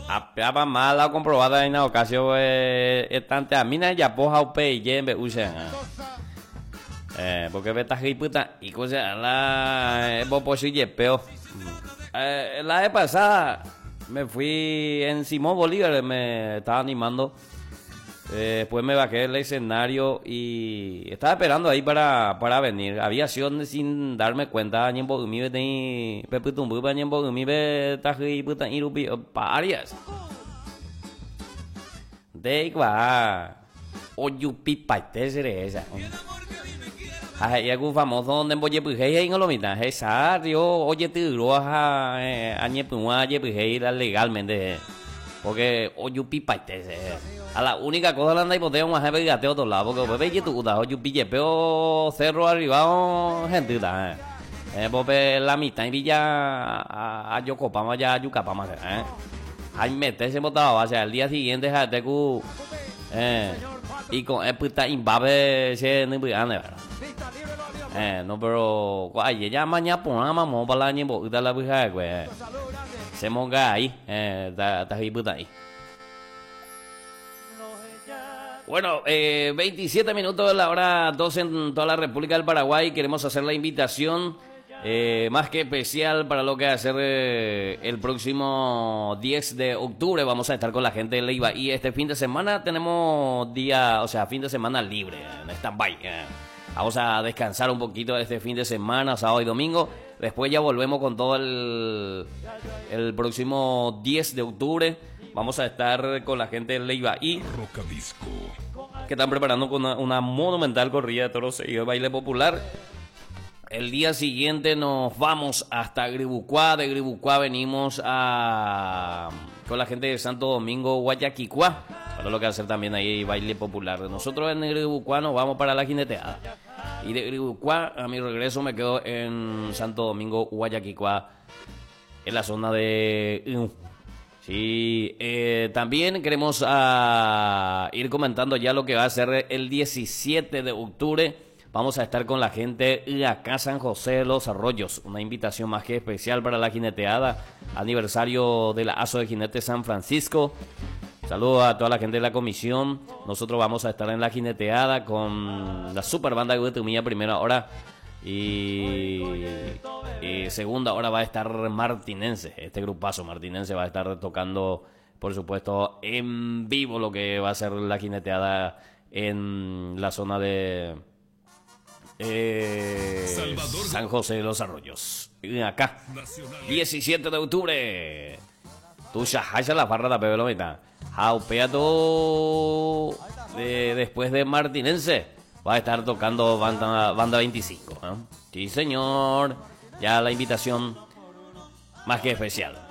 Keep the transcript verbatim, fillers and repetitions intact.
Apeapa mala comprobada en ocasión eh, tante a mina ya poja upe y yembe usa. Eh, porque beta puta y cosa la bopo peo. Eh, la vez pasada me fui en Simón Bolívar, me estaba animando. Eh, después me bajé del escenario y estaba esperando ahí para, para venir. Había sido sin darme cuenta, de oyupi esa. Ajá, algún famoso donde en lo mitad. Esa, yo, oye, legalmente. Porque oyupi a la única cosa la anda y poteo más jefe gateo otro lado, porque bebé tu uda oyupi yepeo cerro arriba gente eh. Eh, porque la mitad y villa a, a Yocopama ya a Yucapama, eh. Ay, mete botaba, o sea, el día siguiente ja teku eh y con eh puta imbabe se ni ¿verdad? Eh, no, pero ay, ya mañana pon mamón para la ñembo la buja güey. Se monga ahí, eh, ta ta puta ahí. Bueno, eh, veintisiete minutos de la hora doce en toda la República del Paraguay. Queremos hacer la invitación eh, más que especial para lo que va a ser eh, el próximo diez de octubre. Vamos a estar con la gente de Leiva. Y este fin de semana tenemos día, o sea, fin de semana libre, en stand-by. Eh. Vamos a descansar un poquito este fin de semana, sábado y domingo. Después ya volvemos con todo el, el próximo diez de octubre. Vamos a estar con la gente de Leiva y Rocadisco, que están preparando con una, una monumental corrida de toros y de baile popular. El día siguiente nos vamos hasta Gribucuá. De Gribucuá venimos a con la gente de Santo Domingo, Guayaquicuá, para lo que va a hacer también ahí baile popular. Nosotros en Gribucuá nos vamos para la jineteada. Y de Gribucuá, a mi regreso, me quedo en Santo Domingo, Guayaquicuá, en la zona de... Sí, eh, también queremos uh, ir comentando ya lo que va a ser el diecisiete de octubre. Vamos a estar con la gente de acá San José de los Arroyos. Una invitación más que especial para la jineteada. Aniversario de la Aso de Jinetes San Francisco. Saludos a toda la gente de la comisión. Nosotros vamos a estar en la jineteada con la super banda de Guatemala primera hora. Y, y segunda hora va a estar Martinense. Este grupazo Martinense va a estar tocando, por supuesto, en vivo lo que va a ser la jineteada en la zona de eh, San José de los Arroyos. Y acá, diecisiete de octubre. Tu ya la farra da pebe lo mitad. Jaupeato de, después de Martinense va a estar tocando banda, banda veinticinco, ¿eh? Sí, señor. Ya la invitación más que especial.